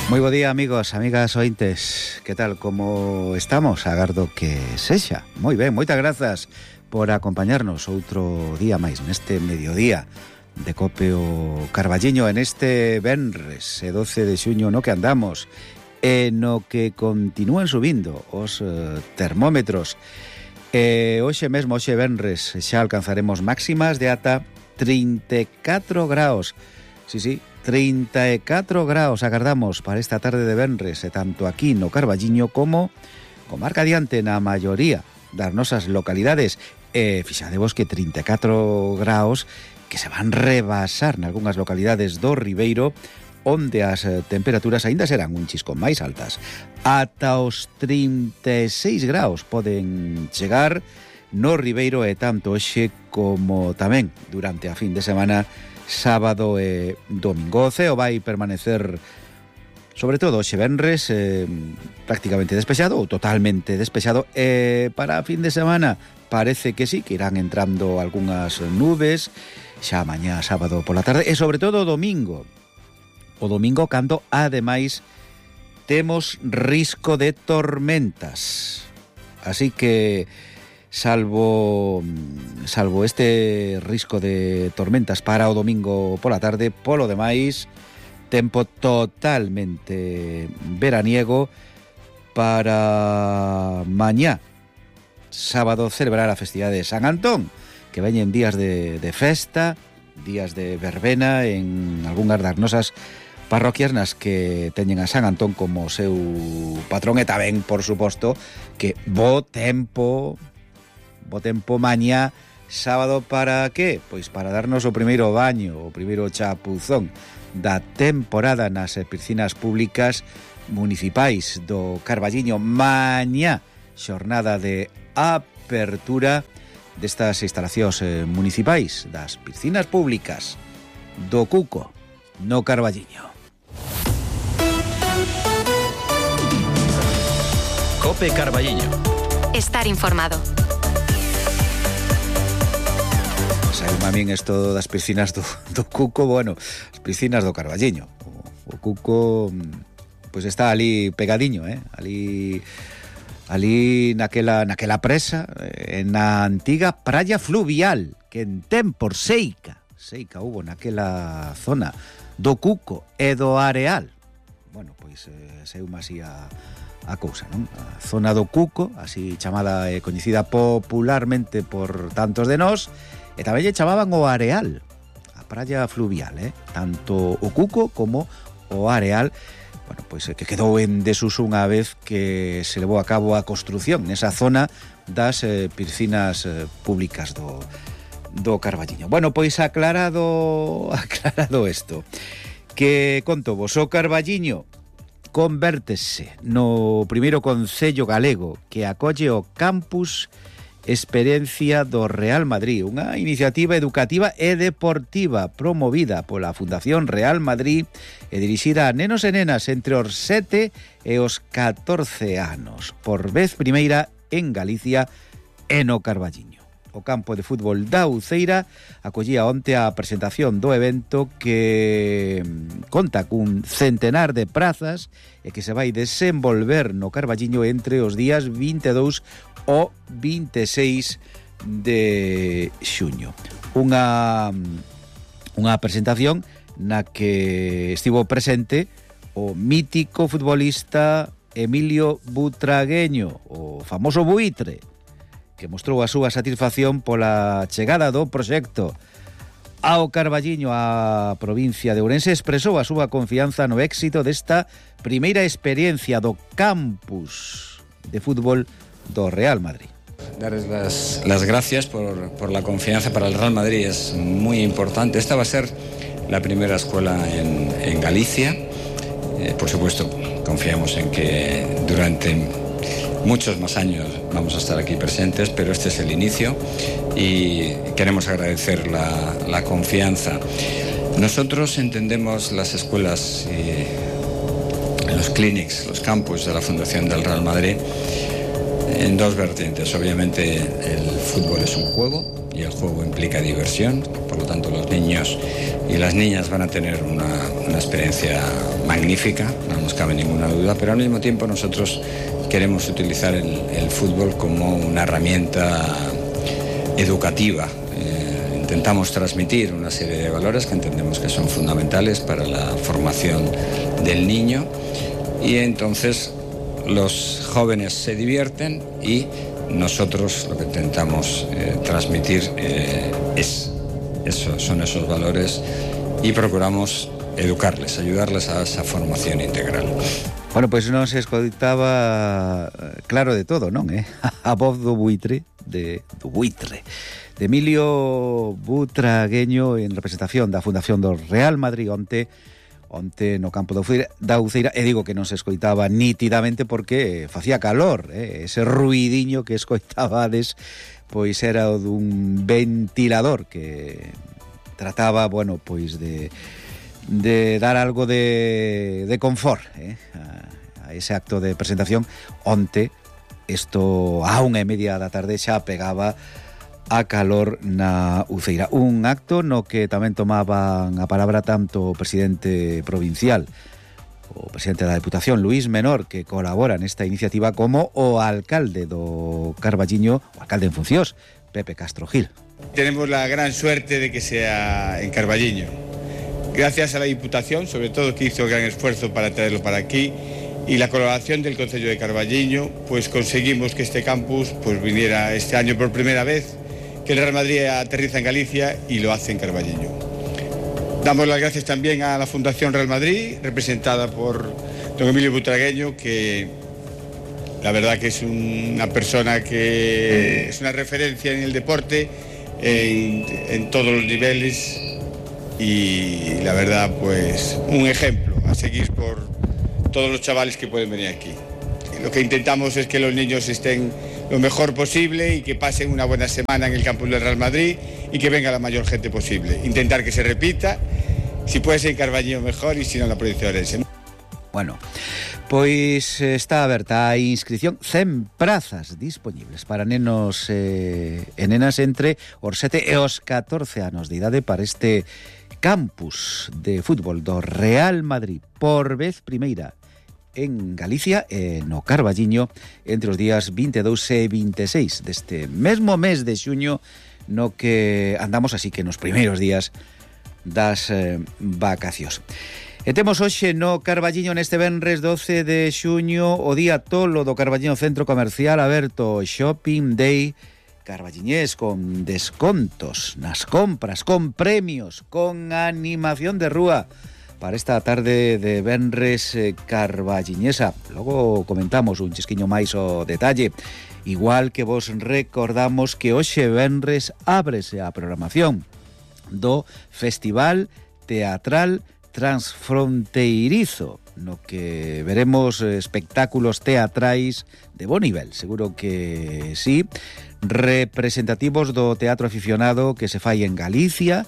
Moi bo día, amigos, amigas ointes. Que tal, como estamos? Agardo que sexa. Moi ben, moitas grazas por acompañarnos outro día máis neste mediodía de Cope o Carballiño, en este venres 12 de xuño no que andamos, no que continúan subindo os termómetros. Hoxe mesmo, hoxe venres, xa alcanzaremos máximas de ata 34 graus. Sí, 34 graus agardamos para esta tarde de venres, tanto aquí no Carballiño como comarca adiante na maioría das nosas localidades. Fixadevos que 34 graus que se van rebasar nalgunhas localidades do Ribeiro, onde as temperaturas aínda serán un chisco máis altas. Ata os 36 graus poden chegar no Ribeiro, e tanto hoxe como tamén durante a fin de semana, sábado e domingo. O ceo vai permanecer, sobre todo hoxe venres, prácticamente despexado ou totalmente despexado, e para a fin de semana parece que sí, que irán entrando algunhas nubes xa mañá sábado pola tarde, e sobre todo o domingo cando ademais temos risco de tormentas. Así que salvo este risco de tormentas para o domingo pola tarde, polo demais tempo totalmente veraniego para mañá sábado celebrar a festividade de San Antón, que veñen días de festa, días de verbena en algunhas das nosas parroquias nas que teñen a San Antón como seu patrón, e tamén, por suposto, que bo tempo mañá sábado, para que? Pois para darnos o primeiro baño, o primeiro chapuzón da temporada nas piscinas públicas municipais do Carballiño. Mañá, xornada de apertura destas instalacións municipais, das piscinas públicas do Cuco no Carballiño. Cope Carballiño. Estar informado. Sabe a min isto das piscinas do Cuco, bueno, as piscinas do Carballiño. O Cuco pois está ali pegadiño, ali naquela presa, na antiga praia fluvial, que en tempos seica hubo naquela zona do Cuco e do Areal. Bueno, pois seume así a cousa, non? A zona do Cuco, así chamada e coñecida popularmente por tantos de nós, e tamén lle chamaban o Areal, a praia fluvial, tanto o Cuco como o Areal. Bueno, pois que quedou en desuso unha vez que se levou a cabo a construción nesa zona das piscinas públicas do Carballiño. Bueno, pois aclarado isto, que conto vos, o Carballiño convértese no primeiro concello galego que acolle o campus Experiencia do Real Madrid, unha iniciativa educativa e deportiva promovida pola Fundación Real Madrid e dirixida a nenos e nenas entre os 7 e os 14 anos, por vez primeira en Galicia e no Carballiño. O campo de fútbol da Uceira acollía onte a presentación do evento, que conta cun centenar de prazas e que se vai desenvolver no Carballiño entre os días 22 o 26 de xuño. Unha presentación na que estivo presente o mítico futbolista Emilio Butragueño, o famoso Buitre, que mostrou a súa satisfacción pola chegada do proxecto ao Carballiño. A provincia de Ourense expresou a súa confianza no éxito desta primeira experiencia do campus de fútbol do Real Madrid. Darles las gracias por la confianza. Para el Real Madrid es muy importante. Esta va a ser la primera escuela en Galicia. Por supuesto, confiamos en que durante muchos más años vamos a estar aquí presentes, pero este es el inicio y queremos agradecer la confianza. Nosotros entendemos las escuelas y los clinics, los campus de la Fundación del Real Madrid en dos vertientes. Obviamente el fútbol es un juego y el juego implica diversión, por lo tanto los niños y las niñas van a tener una experiencia magnífica, no nos cabe ninguna duda, pero al mismo tiempo nosotros queremos utilizar el fútbol como una herramienta educativa. Intentamos transmitir una serie de valores que entendemos que son fundamentales para la formación del niño y entonces los jóvenes se divierten y nosotros lo que intentamos transmitir son esos valores y procuramos educarles, ayudarles a esa formación integral. Bueno, pois non se escoitaba claro de todo, non? A voz do buitre, de Emilio Butragueño en representación da Fundación do Real Madrid onte no campo da Uceira, e digo que non se escoitaba nítidamente porque facía calor, ese ruidiño que escoitabades pois era o dun ventilador que trataba, bueno, pois de dar algo de confort a ese acto de presentación onte. Isto a 1:30 da tarde xa pegaba a calor na Uceira. Un acto no que tamén tomaban a palabra tanto o presidente provincial, o presidente da Deputación, Luís Menor, que colabora nesta iniciativa, como o alcalde do Carballiño, o alcalde en funcións, Pepe Castro Gil. Tenemos la gran suerte de que sea en Carballiño. Gracias a la Diputación, sobre todo, que hizo gran esfuerzo para traerlo para aquí, y la colaboración del Concello de Carballiño, pues conseguimos que este campus pues viniera este año por primera vez, que el Real Madrid aterriza en Galicia y lo hace en Carballiño. Damos las gracias también a la Fundación Real Madrid, representada por don Emilio Butragueño, que la verdad que es una persona que es una referencia en el deporte, en todos los niveles, y la verdad pues un ejemplo a seguir por todos los chavales que pueden venir aquí. Lo que intentamos es que los niños estén lo mejor posible y que pasen una buena semana en el campus del Real Madrid y que venga la mayor gente posible. Intentar que se repita, si puede ser en Carballiño mejor y si no en la provincia de Orense. Bueno, pois está aberta a inscripción, 100 prazas disponibles para nenos e nenas entre os 7 e os 14 anos de idade para este campus de fútbol do Real Madrid, por vez primeira en Galicia e no Carballiño entre os días 22 e 26 deste mesmo mes de xuño no que andamos, así que nos primeiros días das vacacións. E temos hoxe no Carballiño neste venres 12 de xuño o día tolo do Carballiño Centro Comercial aberto, Shopping Day carballiñés, con descontos nas compras, con premios, con animación de rúa para esta tarde de venres carballiñesa. Logo comentamos un chisquiño máis o detalle, igual que vos recordamos que hoxe venres ábrese a programación do Festival Teatral Transfronteirizo, no que veremos espectáculos teatrais de bo nivel, seguro que sí, representativos do teatro aficionado que se fai en Galicia,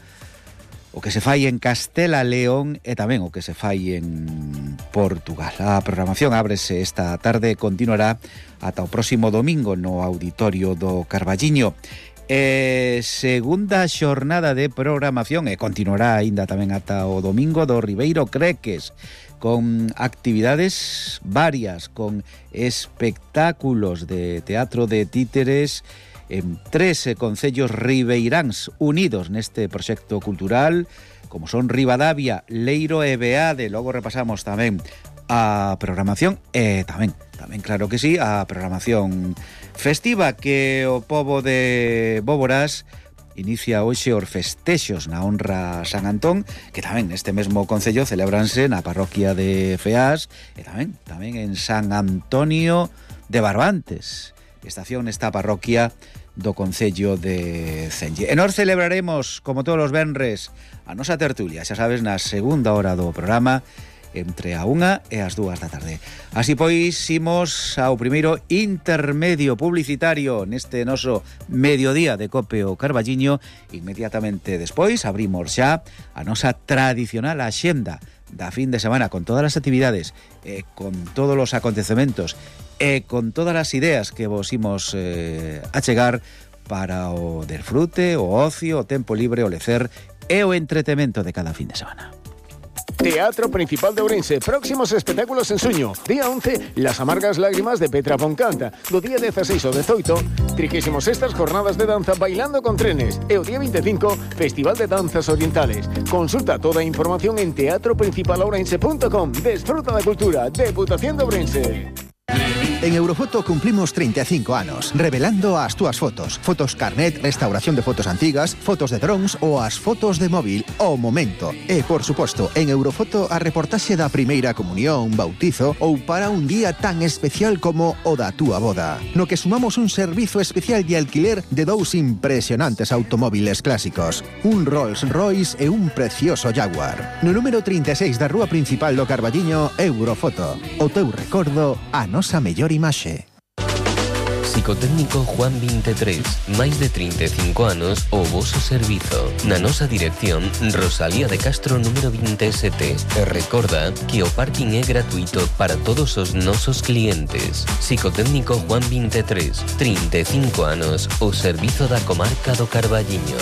o que se fai en Castela León e tamén o que se fai en Portugal. A programación ábrese esta tarde e continuará ata o próximo domingo no auditorio do Carballiño. Segunda xornada de programación e continuará aínda tamén ata o domingo do Ribeiro Creques, con actividades varias, con espectáculos de teatro de títeres en 3 concellos ribeiráns unidos neste proxecto cultural, como son Ribadavia, Leiro e Beade. Logo repasamos tamén a programación e tamén claro que sí, a programación festiva que o pobo de Bóboras inicia hoxe os festexos na honra San Antón, que tamén neste mesmo concello celebranse na parroquia de Feás e tamén en San Antonio de Barbantes, estación nesta parroquia do concello de Cenlle. E nós celebraremos, como todos os venres, a nosa tertulia, xa sabes, na segunda hora do programa, entre a 1 e as 2 da tarde. Así pois, imos ao primeiro intermedio publicitario neste noso mediodía de Cope o Carballiño. Inmediatamente despois abrimos xa a nosa tradicional axenda da fin de semana con todas as actividades, con todos os acontecementos e con todas as ideas que vos imos achegar para o desfrute, o ocio, o tempo libre, o lecer e o entretemento de cada fin de semana. Teatro Principal de Ourense, próximos espectáculos en suño. Día 11, Las amargas lágrimas de Petra Foncanta. Do día 16 ao 18, 36ª jornadas de danza Bailando con trenes. E o día 25, Festival de Danzas Orientales. Consulta toda a información en teatroprincipalourense.com. Desfruta da cultura, Deputación de Ourense. En Eurofoto cumplimos 35 anos, revelando as túas fotos. Fotos carnet, restauración de fotos antigas, fotos de drones ou as fotos de móvil ao momento. E, por suposto, en Eurofoto a reportaxe da primeira comunión, bautizo ou para un día tan especial como o da túa boda. No que sumamos un servizo especial de alquiler de dous impresionantes automóviles clásicos. Un Rolls Royce e un precioso Jaguar. No número 36 da rúa principal do Carballiño, Eurofoto. O teu recordo, a nosa mellor imaxe. Psicotécnico Juan 23, máis de 35 anos o voso servizo. Na nosa dirección, Rosalía de Castro número 27. E recorda que o parking é gratuito para todos os nosos clientes. Psicotécnico Juan 23, 35 anos o servizo da comarca do Carballiño.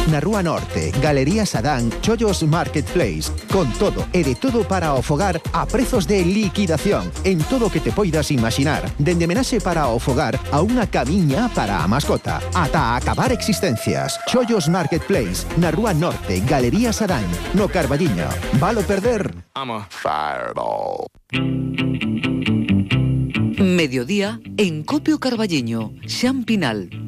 Na Rúa Norte, Galería Sadán, Chollos Marketplace. Con todo e de todo para o fogar a prezos de liquidación en todo o que te poidas imaginar. Dende menaxe para o fogar a unha camiña para a mascota. Ata acabar existencias. Chollos Marketplace, na Rúa Norte, Galería Sadán, no Carballiño. Valo perder? I'm a fireball. Mediodía en Copio Carballiño, Xan Pinal.